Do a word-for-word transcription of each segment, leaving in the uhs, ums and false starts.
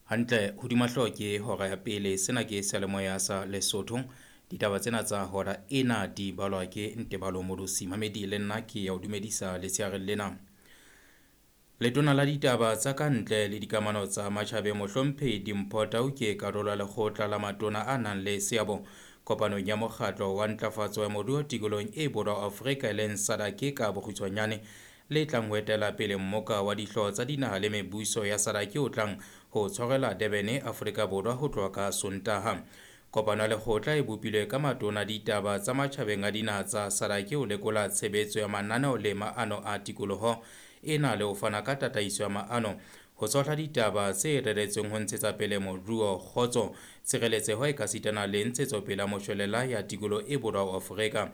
Hantle hodima hlooho ke hora ya pele. Sena ke seyalemoya sa Lesotho. Ditaba tsena tsa hora ena di balwa ke Ntebalo Modosi. Mamedi le nna ke ya o dumedisa letsheareng lena. Letona la ditaba tsa ka ntle le dikamano tsa matjhabeng Mohlomphehi Dimpho Tau ke karolo ya lekgotla la matona a nang le seabo kopanong ya mokgatlo wa ntlafatso ya moruo tikolohong e borwa Afrika e leng SADC ka bokgutshwanyane le tlang ho etela pele mmoka wa dihlooho tsa dinaha le mebuso ya SADC o tlang ho tshwarelwa Durban, Afrika Borwa ho tloha ka Sontaha. Kopano ya lekgotla e bopilwe ka matona ditaba tsa matjhabeng a dinaha tsa SADC ho lekola tshebetso ya mananeo le maano a tikoloho ena le ho fana ka tataiso ya maano ho tshohla ditaba tse reretsweng ho ntshetsa pele moruo, kgotso, tshireletseho ekasitana le ntshetsopele ya moshwelella ya tikoloho e borwa ho Afrika.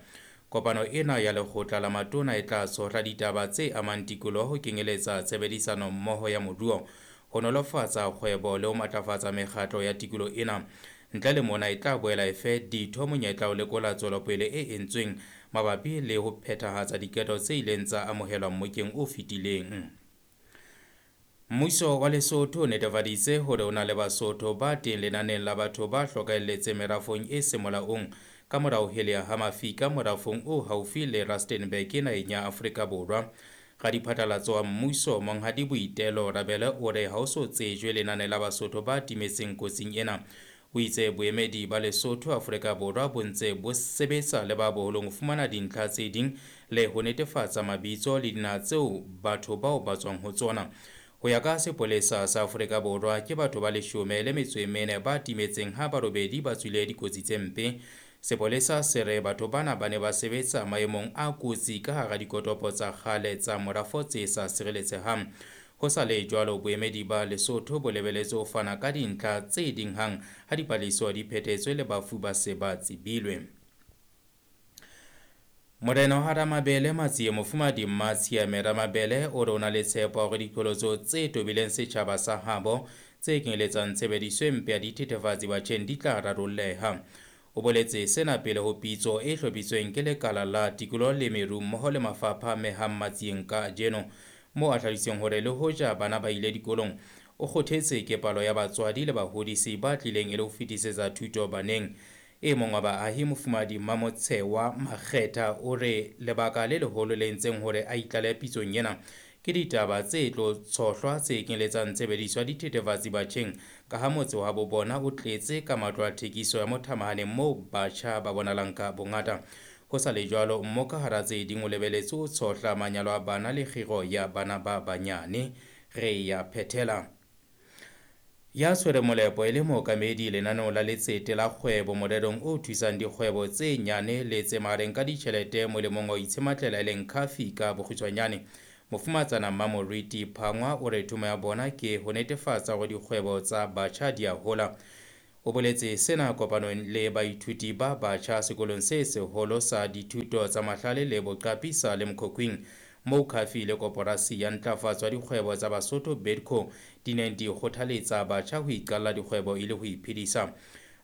Kopano ena ya lekgotla la matona e tla tshohla ditaba tse amang tikoloho ho kenyeletsa tshebedisano mmoho ya moruo, ho nolofatsa kgwebo le ho matlafatsa mekgatlo ya tikoloho ena. Ntle le mona e tla boela e fe ditho monyetla ho lekola tswelopele e entsweng mabapi le ho phethahatsa diqeto tse ileng tsa amohelwa mmokeng o fetileng. Mmuso wa Lesotho o netefaditse hore o na le Basotho ba teng lenaneng la batho ba hlokahelletseng merafong e seng molaong ka mora ho heleha ha mafika morafong o haufi le Rustenburg naheng ya Afrika Borwa. Radiphatlalatso wa mmuso Monghadi Boitelo Rabele o re ha ho so tsejwe lenane la Basotho ba timetseng kotsing ena. O itse boemedi ba Lesotho Afrika Borwa bo ntse bo sebetsa le ba boholong ho fumana dintlha tse ding le ho netefatsa mabitso le dinaha tseo batho bao ba tswang ho tsona. Ho ya ka sepolesa sa Afrika Borwa ke batho ba leshome le metso e mene ba timetseng ha ba robedi ba tswile dikotsi tse mpe. Sepolesa se re batho bana ba ne ba sebetsa maemong a kotsi ka hara dikotopo tsa kgale tsa morafo tse sa sireletsehang. Ho sa le jwalo, boemedi ba Lesotho bo lebeletse ho fana ka dintlha tse ding hang ha dipatlisiso di phethetswe le bafu ba se ba tsebilwe. Morena wa Ramabele Matsie Mofumahadi Mmatshiame Ramabele o re o na le tshepo ya hore diqholotso tse tobileng setjhaba sa habo tse kenyeletsang tshebediso e mpe ya dithethefatsi batjheng di tla rarolleha. O boletse sena pele ho pitso e hlophisitsweng ke lekala la tikoloho le meru mmoho le mafapha a amehang Matsieng kajeno, moo a hlalositseng hore le hoja bana ba ile dikolong, o kgothetse ke palo ya batswadi le bahodisi ba tlileng e le ho fetisetsa thuto baneng. E mong wa baahi Mofumahadi Mamotshewa Makgetha o re lebaka le leholo le entseng hore a itlale pitsong ena ke ditaba tse tlo tshohlwa tse kenyeletsang tshebediso ya dithethefatsi batjheng, ka ha motse wa bo bona o tletse ka matlo a thekiso ya mothamahaneng moo batjha ba bonalang ka bongata. Ho sa le jwalo, mmoka hara tse ding o lebeletse ho tshohla manyalo a bana le kgiro ya bana ba banyane. Re ya phethela. Ya tshwere molepo e le mookamedi lenaneo la letsete la kgwebo morerong o thusang dikgwebo tse nyane le tse mahareng ka ditjhelete molemong wa ho itshematlela e leng Khafi ka bokgutshwanyane. Mofumatsana Mmamoriti Phangwa o re thomo ya bona ke ho netefatsa hore dikgwebo tsa batjha di a hola. O boletse sena kopanong le baithuti ba batjha sekolong se seholo sa dithuto tsa mahlale le boqapi sa Limkokwing, moo Khafi le koporasi ya ntlafatso ya dikgwebo tsa Basotho Bidco di neng di kgothaletsa batjha ho iqalla dikgwebo e le ho iphedisa.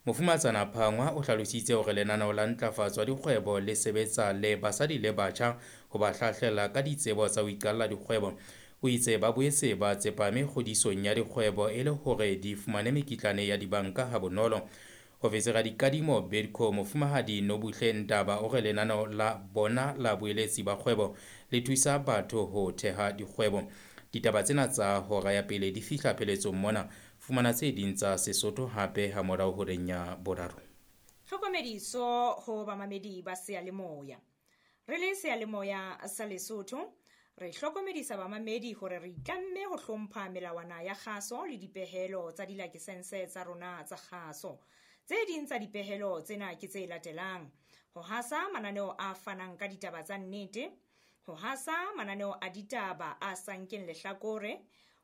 Mofumatsana Phangwa o hlalositse hore lenaneo la ntlafatso ya dikgwebo le sebetsa le basadi le batjha ho ba hlahlela ka ditsebo tsa ho iqalla dikgwebo. O itse ba boetse ba tsepame kgodisong ya dikgwebo e le hore di fumane mekitlane ya dibanka ha bonolo. Ofisiri ya dikadimo Bidco Mofumahadi Nobuhle Ndaba o re lenaneo la bona la boeletsi ba kgwebo le thusa batho ho theha dikgwebo. Ditaba tsena tsa hora ya pele di fihla pheletsong mona. Fumana tse ding tsa Sesotho hape ha morao horeng ya boraro. Tlhokomediso ho bamamedi ba seyalemoya. Re le seyalemoya sa Lesotho, re hlokomedisa bamamedi hore re itlamme ho hlompha melawana ya kgaso le dipehelo tsa dilakesense tsa rona tsa kgaso. Tse ding tsa dipehelo tsena ke tse latelang: ho hasa mananeo a fanang ka ditaba tsa nnete, ho hasa mananeo a ditaba a sa nkeng lehlakore,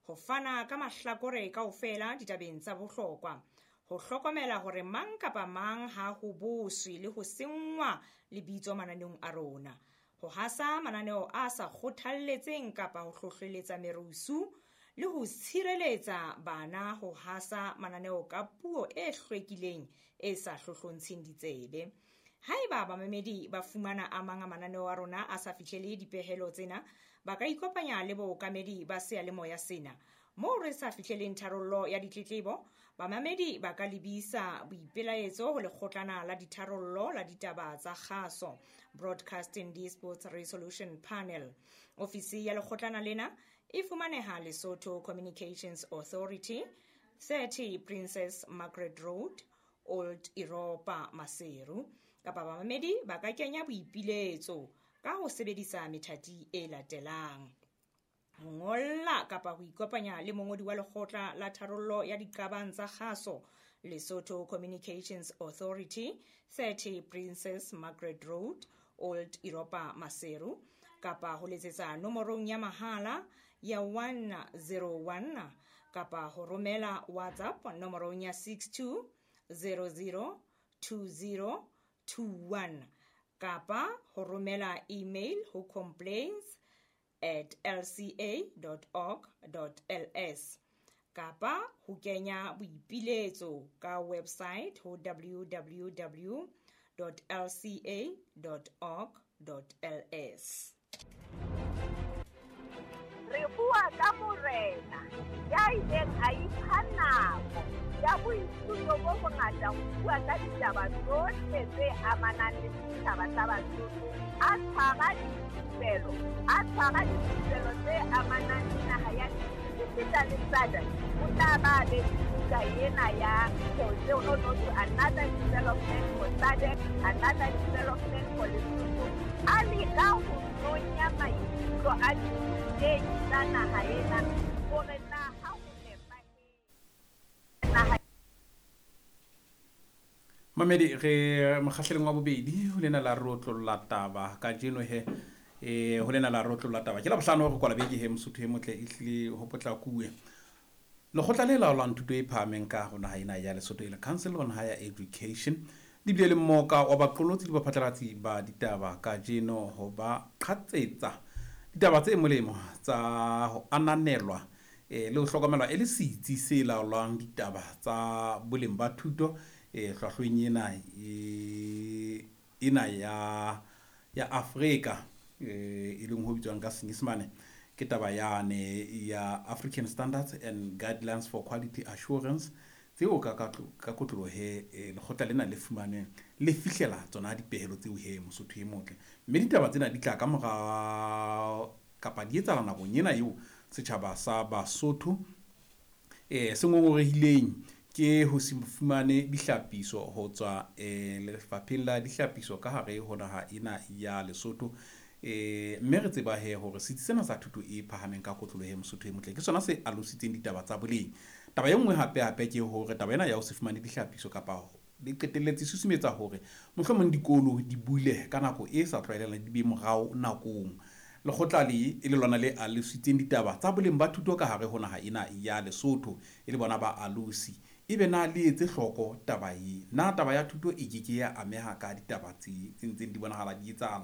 ho fana ka mahlakore kaofela ditabeng tsa bohlokwa, ho hlokomela hore mang kapa mang ha ho boswe le ho senngwa lebitso mananeong a rona, ho hasa mananeo a sa kgothalletseng kapa ho hlohleletsa merusu, le ho tshireletsa bana ho hasa mananeo ka puo e hlwekileng e sa hlohlontsheng ditsebe. Haeba bamamedi ba fumana a mang a mananeo a rona a sa fihlele dipehelo tsena, ba ka ikopanya le bookamedi ba seyalemoya sena Moo re sa fihleleng tharollo ya ditletlebo, bamamedi ba ka lebisa boipelaetso ho lekgotlana la ditharollo la ditaba tsa kgaso, Broadcasting Disputes Resolution Panel. Ofisi ya lekgotlana lena e fumaneha Lesotho Communications Authority, thirty Princess Margaret Road, Old Europa, Maseru. Kapa bamamedi ba ka kenya boipiletso ka ho sebedisa methati e latelang: ho ngolla kapa ho ikopanya le mongodi wa lekgotla la tharollo ya diqabang tsa kgaso, Lesotho Communications Authority, thirty Princess Margaret Road, Old Europa, Maseru, kapa ho letsetsa nomorong ya mahala ya one zero one kapa ho romela WhatsApp nomorong ya six two zero zero two zero two one kapa ho romela email ho complaints at l c a dot org dot l s kapa ho kenya boipiletso ka website ho w w w dot l c a dot org dot l s. Re bua ka morena ya ileng a ipha nako ya boithuto bo bongata ho bua ka ditaba tsohle tse amanang le setjhaba sa Basotho, a tshwara dithupelo, a tshwara dithupelo tse amanang le naha ya esita le S A D C. O tla ba be buka ena ya another development for S A D C, another development for Lesotho. A leka ho nonya maikutlo a ditei tsa naha ena hore na ha ho nepahetse naha. Mamedi re mokgahlelong wa bobedi ho lena la rotlolla taba kajeno he eh ho lena la rotlolla taba ke la bohlano re kwala beke he Mosotho e motle e hlile ho potlakuwe. Lekgotla le laolang thuto e phahameng ka ho naha ena ya Lesotho e le Council on Higher Education di bile le mmoka wa baqolotsi le baphatlalatsi ba ditaba kajeno ho ba qhatsetsa ditaba tse molemo tsa ho ananelwa eh le ho hlokomelwa e le setsi se laolang ditaba tsa boleng ba thuto eh hlwahlweng ena e ena ya ya Afrika eh e leng ho bitswang ka Senyesemane ke taba yane ya African Standards and Guidelines for Quality Assurance tseo ka ka ka kotloloho he lekgotla lena le fumaneng le fihlela tsona dipehelo tseo he Mosotho e motle. Mme ditaba tsena di tla ka mora kapa di etsahala nakong ena eo setjhaba sa Basotho eh se ngongorehileng ke ho se fumane dihlapiso ho tswa eh lefapheng la dihlapiso ka hare ho naha ena ya Lesotho. Eh mme re tseba he hore setsi sena sa thuto e phahameng ka kotloloho he Mosotho e motle ke sona se alositseng ditaba tsa boleng. Taba e nngwe hape hape ke hore taba ena ya ho se fumane dihlapiso kapa le qetelletse susumetsa hore mohlomong dikolo di bule ka nako e sa tlwaelelang di be morao nakong. Lekgotla le e le lona le alositseng ditaba tsa boleng ba thuto ka hare ho naha ena ya Lesotho e le bona ba alosi ebe na le etse hloko taba e na taba ya thuto e ke ke ya ameha ka ditaba tse ntseng di bonahala di etsahala